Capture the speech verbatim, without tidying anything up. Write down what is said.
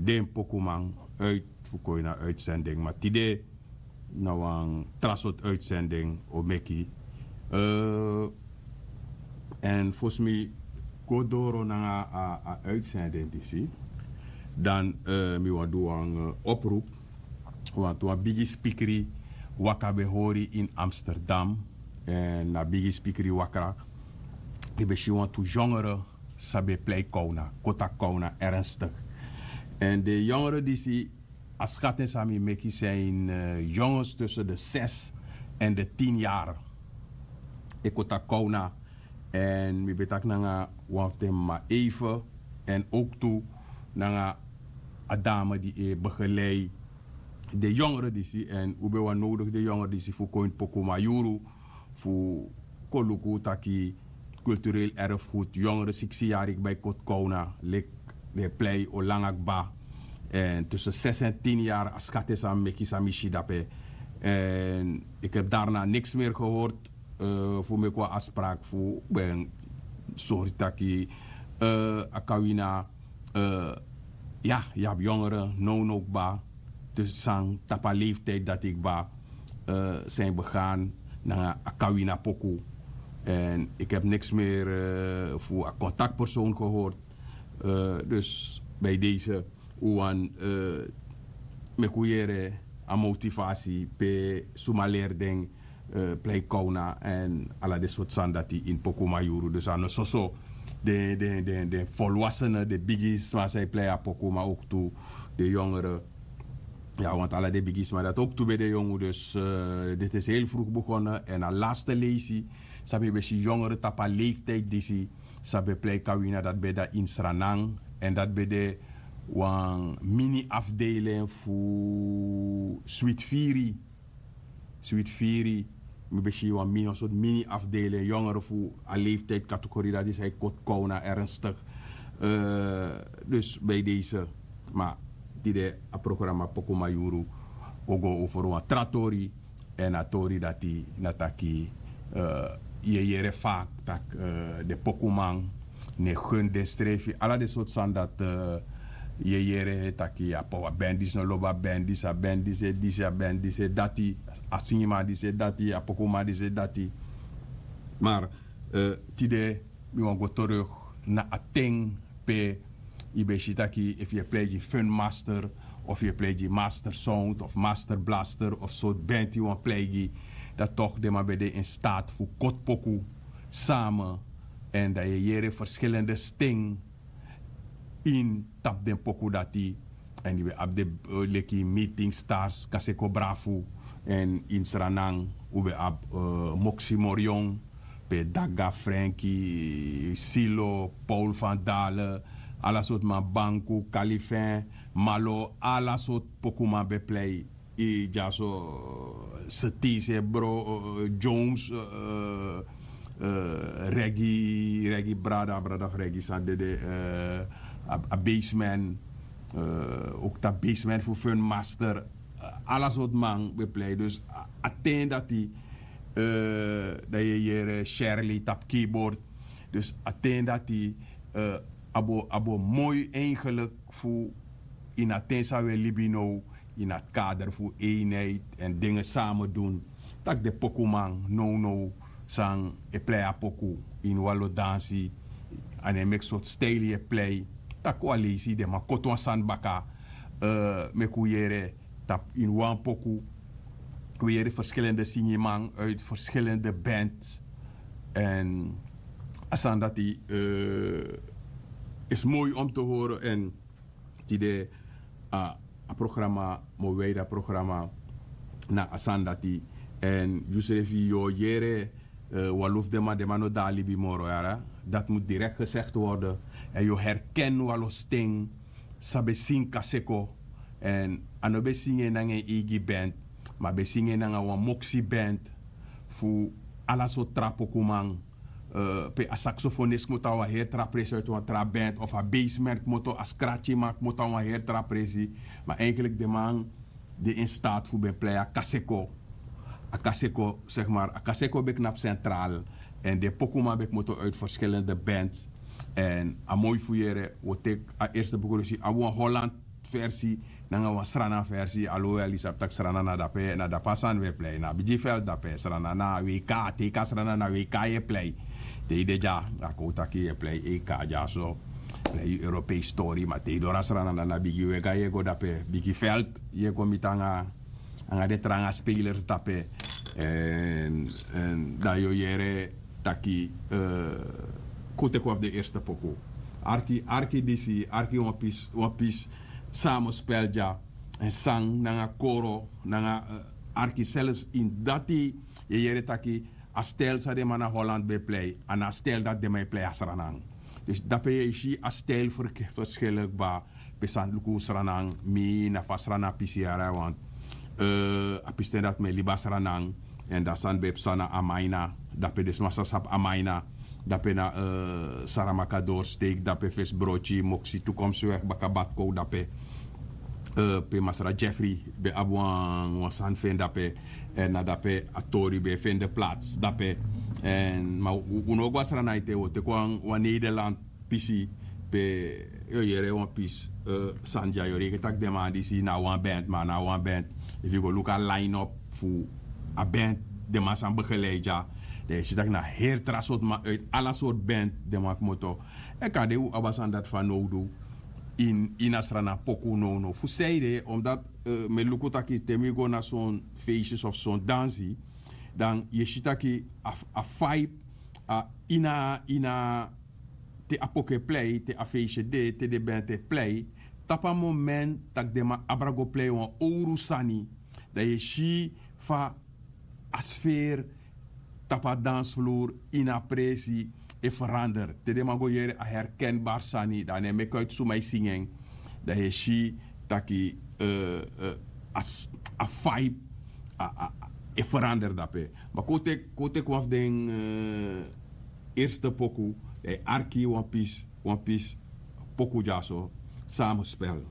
den pokuman uit fu kon ini a uitzending, ma tide na wan tra sortu uitzending o meki. Èn fosi mi go doro nanga a uitzending disi, dan mi wani du wan oproep. Wantu wan bigi spikri waka ben hori ini Amsterdam. Èn na bigi spikri waka, yu ben si wantu yongere san ben plei kowna, koti a kowna ernstig. Èn den yongere disi, a skatin san mi meki, zijn jongens tussen de zes en de tien yari e koti a kowna. Èn mi ben taki nanga wan fu den mama eive, èn ook tu nanga a dame di e begelei den yongere disi, èn un ben wani nodigi den yongere disi fu kon ini pokuman yuru, fu kon luku taki cultureel erfgoed, yongere siksi yari kba e koti kowna, leki den e plei o langa kba. Èn tussen zes en tien yari, a skatin san mi meki, san mi si dape. Èn ik heb daarna niks meer gehoord fu meki wan afspraak fu ben sori taki a kawina, ya, yu abi yongere nownow kba, dus san tapu a leeftijd dati kba zijn begaan nanga a kawina poku. En ik heb niks meer fu a contactpersoon gehoord. Dus bij deze un wani meki un yere a motivatie pe suma leri den plei kowna en ala den sortu sani dati ini pokuman yuru. Dus a no soso den den den den volwassenen, den bigisma san e plei a pokuman, ook tu den yongere. Ya, want ala den bigisma dati ook tu ben de yongu. Dus dit is heel vroeg begonnen en a laatste leisi san mi ben si yongere tapu a leeftijd disi san ben plei kawina, dati ben de ini Sranan. En dati ben de wan mini afdeling fu Switfiri. Switfiri, mi ben si wan mini, wan sortu mini afdeling yongere fu a leeftijd categorie dati san e koti kowna ernstig. Dus bij deze, ma tide a programma Pokuman Yuru o go over wan tra tori. En a tori dati na taki yu e yere vaak taki den pokuman no e gun den srefi, ala den sortu sani dati yu e yere taki a band disi no lobi a band disi, a band disi e disi, a band disi e dati, a singiman disi e dati, a pokuman disi e dati. Maar tide mi wani go terug na a ten pe yu ben si taki efu yu e plei gi Fun Master of yu e plei gi Master Sound of Master Blaster of sortu band yu wani plei gi, dan toch den man ben de in staat fu koti poku samen. En dan yu e yere verschillende sting ini tapu den poku dati. En yu ben abi den leki Meeting Stars, Kaseko Brafu. En ini Sranan un ben abi Moksi Morion, pe Daga, Frenki, Silo, Paul van Dalen, ala sortu man, Banku, Kalifin, Malo, ala sortu pokuman ben plei. Dyaso Setise, bro, Jones, Reggie, Reggie brada, brada fu Reggie san dede, a Baseman, ook tapu Baseman fu Fun Master. Ala sortu man ben plei. Dus a ten dati dan yu e yere Shirley tapu keyboard. Dus a ten dati a bo a bo moi eigenlijk fu ini a ten san wi e libi now, ini a kader fu eenheid en dingen samen doen, taki den pokuman nownow san e plei a poku ini wan lo dansi, a no e meki sortu stijl yu e plei, taki wan leisi den man koti wan sani baka. Meki un yere tapu ini wan poku. We yere verschillende singiman uit verschillende band. En a sani dati is mooi om te horen. En tide a programma, mo wijde a programma na a sani dati. En yusrefi yu o yere wan lo fu den man, den man no de na libi moro, yara. Dat moet direct gezegd worden. En yu o herken wan lo sting san ben singi Kaseko. En a no ben singi en nanga en eigi band, ma a ben singi en nanga wan Moksi band fu ala sortu tra pokuman. Pe a saxofonist kmoto na wan heri tra presi uit wan tra band, of a Baseman kmoto, a scratchyman kmoto na wan heri tra presi. Ma eigenlijk den man de in staat fu ben plei a Kaseko. A Kaseko, zeg maar, a Kaseko ben knapu centraal. En den pokuman ben kmoto uit verschillende bands. En a moi fu yere, wi o teki a eerste begroeting, a wan Holland Versi nanga wan srana versi, alowel yu sabi tak' srana na dape na dape a sani we plei na bigi veld dape srana na wk. Te yu kan srana na wk yu e plei. Te yu de dya a kon taki yu e plei ek dya so plei yu europees tori ma te yu doro a srana na na bigi wega yu e go dape bigi veld yu e go miti nanga den tranga spelers dape. Dan yu o yere taki kon teki wan fu den eerste poku. Arki arki disi arki wan pisi wan pisi samospel dya. Èn sang nanga koro nanga arki selfs ini dati yu e yere taki a stel san den man na holland ben e plei a na a stel dati den man e plei a sranan. Dus dape yu e si a stel ferskillik kba pe sani luku sranan mi na fa sranan pisi yara want a pisten dati mi e libi a sranan. Èn dan sani ben e psa na amaina dape den sma sa sabi amaina. Dape na saramaka doorsteek dape fesi broti moksi tukomsi wek baka batkow dape pe masra jeffrey ben abi wan sani fu en dape. Èn na dape a tori ben e fende plats dape. Èn ma un no go a srana ete un o teki wan nederland pisi pe yu o yere wan pisi sani dya yu o reken tak' den man disi na a wan band ma a na a wan band. Efu yu go luku a line up fu a band den man san begeleid dya dan yu si tak' na heri tra sortu man uit ala sortu band den man kmoto. Èn kande un abi a sani dati fanowdu ini a srana poku nownow fu seide omdat mi e luku taki te mi go na son feistes of son dansi dan yu e si taki a vibe ini a ini a te a poku e plei te a feisye de te den bent e plei tapu a moment tak' den man abra go plei wan owru sani. Dan yu e si fa a sfeer tapu a dansfloer ini a presi e verander te den man go yere a herkenbari sani dan a no e meki uit suma e singi en. Dan yu e si taki a vibe e verander dape. Ma kon teki wan fu den eerste poku dan yu arki wan pisi wan pisi poku dyaso. Samenspel.